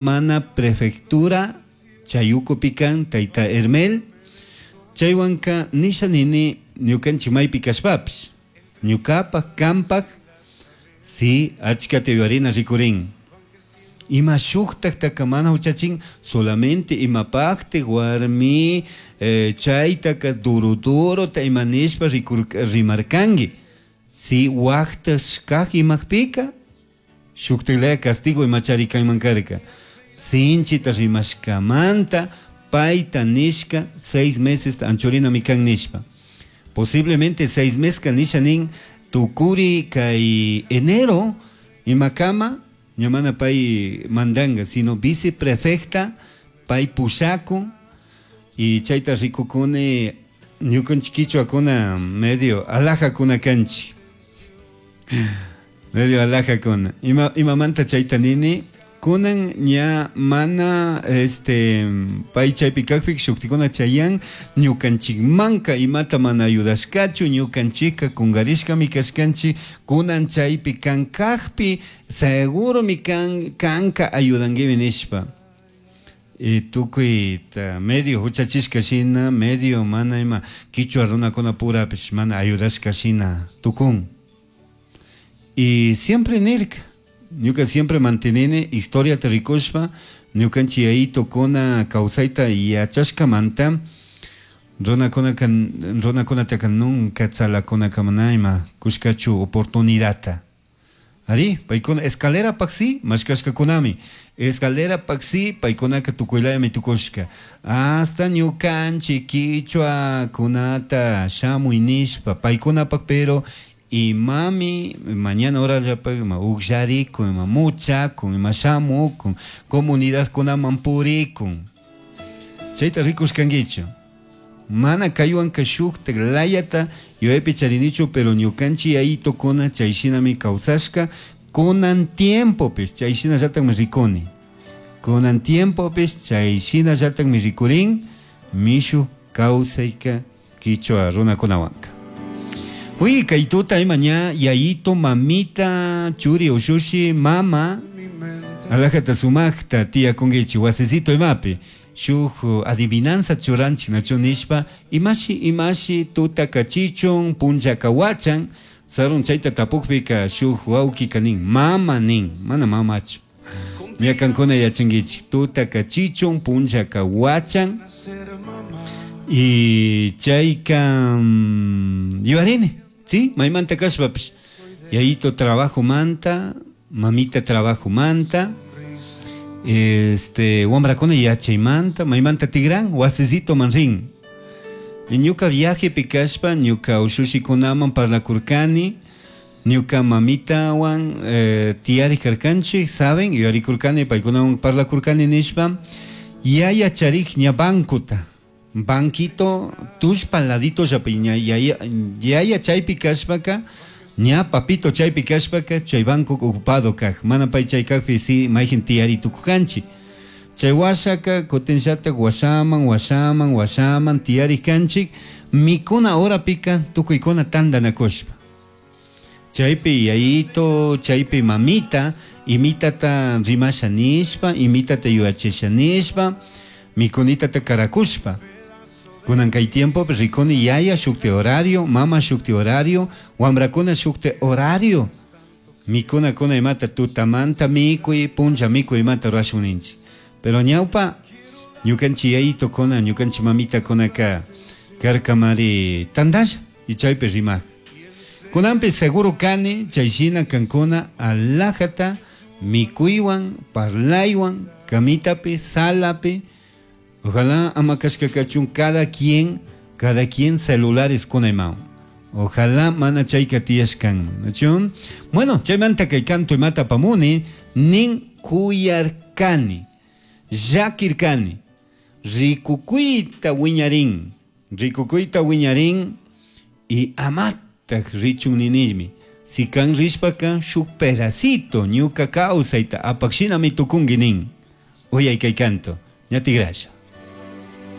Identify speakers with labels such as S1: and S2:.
S1: Mana prefectura chay ukupi kan tayta Hermel chaywanka nisha nini ñukanchik maypi kashpapish ñukapak kampak si achkata yuyarina rikurin ima shuktaktaka mana huchachin solamente imapaktik warmi chaytaka duro durota ima nishpa rimarkanki si waktashkak imakpika Shuktiklaya castigo imachari kanman karka. Sinchita rimashkamanta payta nishka seis mesesta anchurinami kan nishpa. Posiblemente seis meska nisha nin tukuri kay enero imakama ña mana pay mandanga, sino viceprefecta pay pushakun y chayta rikukuni ñukanchik kichwakuna medio alajakuna kanchik. Medio alajakuna. Ima, imamanta chayta nini? Kunan ña mana este pay chaypi kajpi shuktikuna chayan ñukanchikmanka imata mana ayudashkachu ñukanchikka kungarishkami kashkanchik kunan chaypi kan kajpi seguromi kan kanka ayudanguimi nishpa. Y tukuyta medio huchachishka shina medio mana ima kichwa runakuna purapish mana ayudashka shina tukun. Y siempre nirka, ñuka siempre mantenini historiata rikushpa ñukanchik yayitokuna kawsayta yachashkamanta runakunaka runakunataka nunca tzalakunaka mana ima kushkachu oportunidadta. Ari, paykuna escalerapak si mashkashkakunami, escalerapak si paykunaka tukuylayami tukushka, hasta ñukanchik kichwakunata shamuy nishpa paykunapak pero Imami mañana horallapaj ima ugllaricun, ima muchacun, ima shamucun, comunidadcunaman puricun. Chaita ricushcanguichu? Mana caihuanca shujtaj layata yuyaipi charinichu, pero ñucanchik yayitocuna chai shinami causashca, cunan tiempopish chai shinallatajmi ricuni. Cunan tiempopish chai shinallatajmi ricurin, mishu causaica Quichua runacunahuanca. Uy, cai tuta ima ña yayito, mamita, churi, ushushi, mama, alajata sumajta tiyacunguichi wasicito imapi. Shuj adivinanza churanchik nachu nishpa, imashi, imashi tutaka chichun, punllaka huachan, sarun chaita tapukpika shuj huauquika nin, mama nin, mana mamachu. Ña kankuna yachanguichik, tutaka chichun, punllaka huachan. Y chayka yuyarini, sí, maymanta kashpapish, yayito trabajomanta, mamita trabajomanta, este, wambrakuna yachaymanta, maymanta tigran, wasisitoman rin. Y ñuka viajepi kashpa, ñuka ushushikunaman parlakurkani, Ñuca mamitahuan tiyarij carcanchij, saben, yuyaricurcani, paicunahuan parlacurcani nishpa, yaya charij ña bancota, banquito tullpa laditollapi ña yaya, yaya chaipi cashpaca, ña papito chaipi cashpaca, chai banco ocupado caj, mana pai chai cajpi si maijin tiyari tucucanchi. Chai huashaca cutinllataj huashaman, huashaman, huashaman tiyarij canchij, micuna horapica tucuicuna tandanacushpa. Chaipi yayito, chaipi mamita, imitata rimasha nishpa, imitata yuyachisha nishpa, micunitata caracushpa. Cunan cai tiempopi ricuni yaya shukti horario, mama shukti horario, wambracuna shukti horario. Micunacuna imata tutamanta micui, punlla micui imata rurashun ninchik. Pero ñaupa ñucanchik yayitocuna, ñucanchik mamitacunaca carcamari tandalla y chaipi rimaj. Cunanpi seguro cani chay shina cancuna alajata micuihuan, parlaihuan, camitapi, salapi, ojalá ama cashca cachun cada quien, cada quien celulares cunaimaun. Ojalá mana chaica tiyashcanman, nachu? Bueno, chaymanta kay canto imata apamuni, nin cuyarcani, llaquircani, ricucuita wiñarin, ricucuita wiñarin y amataj richun ninishmi. Si can rishpaca shuk pedacito ñuca causaita apac shinami tucungui nin. Uyay kay canto, ña tigrasha.